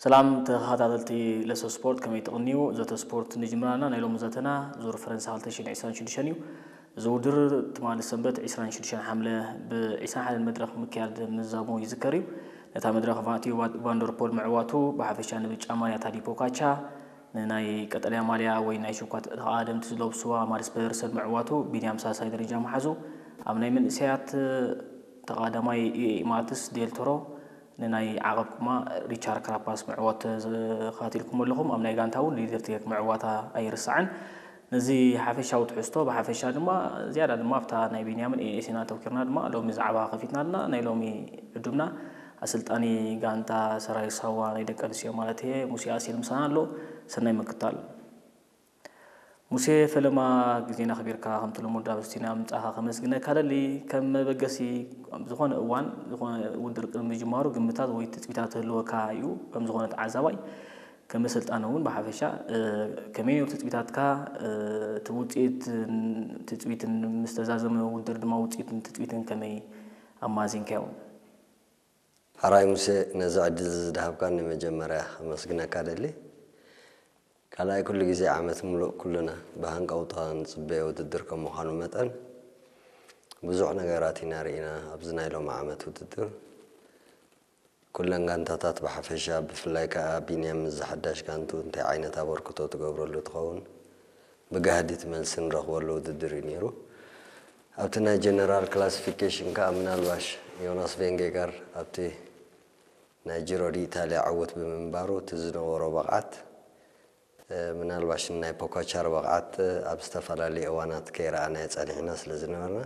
ሰላም ተኸታተልቲ ለሶ ስፖርት፣ ከመይ ትቕንዩ? ዘተ ስፖርት ንጅምራና። ናይ ሎሚ ዘተና ዙር ፈረንሳ ክልተ ሽሕን ዕስራን ሽዱሽተን እዩ። እዚ ውድድር ትማሊ ሰንበት ዕስራን ሽዱሽተን ሓምለ ብ ዕስራን ሓደን መድረኽ ምክያድ ምዛሙ ይዝከር እዩ። ነታ መድረኽ ማቲዩ ቫንደርፖል ምዕዋቱ ብሓፈሻ ንብጫ ማልያ ታዲ ፖካቻ፣ ንናይ ቀጠልያ ማልያ ወይ ናይ ሽኳት ተቓደምቲ ዝለብስዋ ማድስ ፐደርሰን ምዕዋቱ ቢንያም ሳልሳይ ደረጃ መሓዙ። ኣብ ናይ መንእሰያት ተቓዳማይ ማትስ ዴልቶሮ ንናይ ዓቐብ ቁማ ሪቻርድ ክራፓስ ምዕዋት ተኸታቲልኩም ኣለኹም። ኣብ ናይ ጋንታ እውን ሊደር ቴክ ምዕዋታ ኣይርሳዕን። ነዚ ሓፈሻዊ ትሕዝቶ ብሓፈሻ ድማ ዝያዳ ድማ ኣብታ ናይ ቢንያምን ኤኤስን ኣተውኪርና ድማ ሎሚ ዛዕባ ከፊትና ኣለና። ናይ ሎሚ ዕዱምና ኣሰልጣኒ ጋንታ ሰራዊት ሳዋ ናይ ደቂ ኣንስትዮ ማለት እየ ሙሴ ኣሲል ምሳና ኣሎ። ሰናይ ምክታል። ሙሴ ፈለማ ግዜና ኣኽቢርካ ከምቲ ልሙድ ኣብ ስቱድዮና ምጻኻ ከመስግነካ ደሊ። ከም መበገሲ ኣብ ዝኾነ እዋን ዝኾነ ውድድር ቅድሚ ምጅማሩ ግምታት ወይ ትጽቢታት ክህልወካ እዩ። ከም ዝኾነ ተዓዛባይ ከም ኣሰልጣኒ እውን ብሓፈሻ ከመይ ነሩ ትጽቢታትካ? እቲ ውጽኢት ትጽቢትን ምስ ተዛዘመ ውድድር ድማ ውጽኢትን ትጽቢትን ከመይ ኣማዚንካዮ? ሓራይ ሙሴ፣ ነዚ ዕድል እዚ ዝድሃብካኒ መጀመርያ ከመስግነካ ደሊ። ካልኣይ ኩሉ ግዜ ዓመት ሙሉእ ኩሉና ብሃንቀውታ ንጽበዮ ውድድር ከም ምዃኑ መጠን ብዙሕ ነገራት ኢና ርኢና ኣብዚ ናይ ሎሚ ዓመት ውድድር። ኩለን ጋንታታት ብሓፈሻ ብፍላይ ከኣ ቢንያም ምስ ዝሓዳሽ ጋንቱ እንታይ ዓይነት ኣበርክቶ ትገብረሉ ትኸውን ብጋህዲ እቲ መልሲ ንረኽበሉ ውድድር እዩ ነይሩ። ኣብቲ ናይ ጀነራል ክላሲፊኬሽን ከኣ ምናልባሽ ዮናስ ቬንጌጋር ኣብቲ ናይ ጂሮ ዲ ኢታልያ ዕውት ብምንባሩ እቲ ዝነበሮ ብቕዓት ምናልባሽ ናይ ፖካቻር ብቕዓት ኣብ ዝተፈላለዩ እዋናት ከይረኣናዮ ጸኒሕና ስለ ዝነበርና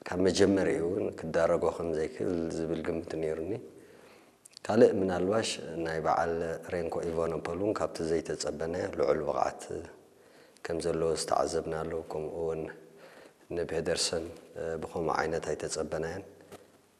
ካብ መጀመሪኡ እውን ክዳረጎ ከም ዘይክእል ዝብል ግምት ነይሩኒ። ካልእ ምናልባሽ ናይ በዓል ሬንኮ ኢቫኖፖል እውን ካብቲ ዘይተጸበናዮ ልዑል ብቕዓት ከም ዘለዎ ዝተዓዘብናሉ፣ ከምኡ እውን ንፔደርሰን ብኸምኡ ዓይነት ኣይተጸበናዮን።